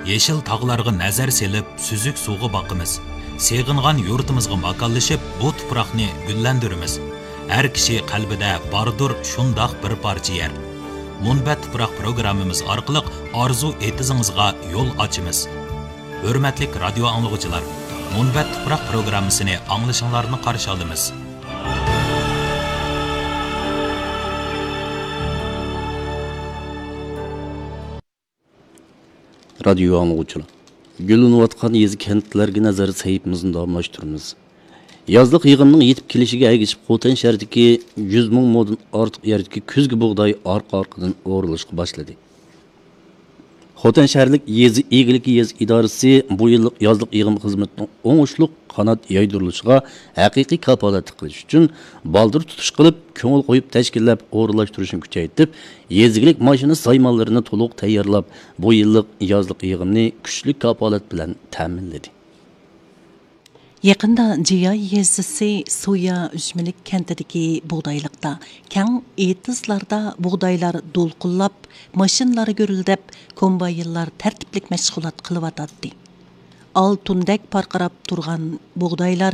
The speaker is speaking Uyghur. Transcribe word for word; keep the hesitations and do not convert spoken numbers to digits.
يېشىل تاغلارغا نەزەر سېلىپ، سۈزۈك سۇغا باقىمىز. سېغىنغان يۇرتىمىزغا ماكانلىشىپ، بۇ تۇپراقنى گۈللەندۈرىمىز. ھەر كىشى قەلبىدە باردۇر شۇنداق بىر پارچە يەر. مۇنبەت تۇپراق پروگراممىمىز ئارقىلىق ئارزۇ ئېتىزىڭىزغا يول ئاچىمىز. ھۆرمەتلىك رادىيو ئاڭلىغۇچىلار، مۇنبەت تۇپراق پروگراممىسىنى ئاڭلىشىڭلارنى قارشى ئالىمىز. رادىيو ئاڭلىغۇچىلار، گۈللىنىۋاتقان يېزا كەنتلەرگە نەزەر سەھىپىمىزنى داۋاملاشتۇرىمىز. يازلىق يىغىمنىڭ يېتىپ كېلىشىگە ئەگىشىپ، خوتەن شەھىرىدىكى يۈز مىڭ مودىن ئارتۇق يەردىكى كۈزگى بۇغداي ئارقا-ئارقىدىن ئورۇلۇشقا باشلىدى. خوتەن شەھەرلىك يېزا ئىگىلىكى يېزا ئىدارىسى بۇ يىللىق يازلىق يىغىم خىزمىتىنىڭ ئوڭۇشلۇق قانات يايدۇرۇلۇشىغا ھەقىقىي كاپالەتلىك قىلىش ئۈچۈن، بالدۇر تۇتۇش قىلىپ، كۆڭۈل قويۇپ تەشكىللەپ ئورۇنلاشتۇرۇشنى كۈچەيتىپ، يېزا ئىگىلىك ماشىنا سايمانلىرىنى تولۇق تەييارلاپ، بۇ يىللىق يازلىق يىغىمنى كۈچلۈك كاپالەت بىلەن تەمىنلىدى. يېقىندا جىياي يېزىسى سۇيا ئۈجمىلىك كەنتىدىكى بۇغدايلىقتا، كەڭ ئېتىزلاردا بۇغدايلار دولقۇنلاپ، ماشىنىلار گۈرۈلدەپ، كومباينلار تەرتىپلىك مەشغۇلات قىلىۋاتاتتى. ئالتۇندەك پارقىراپ تۇرغان بۇغدايلار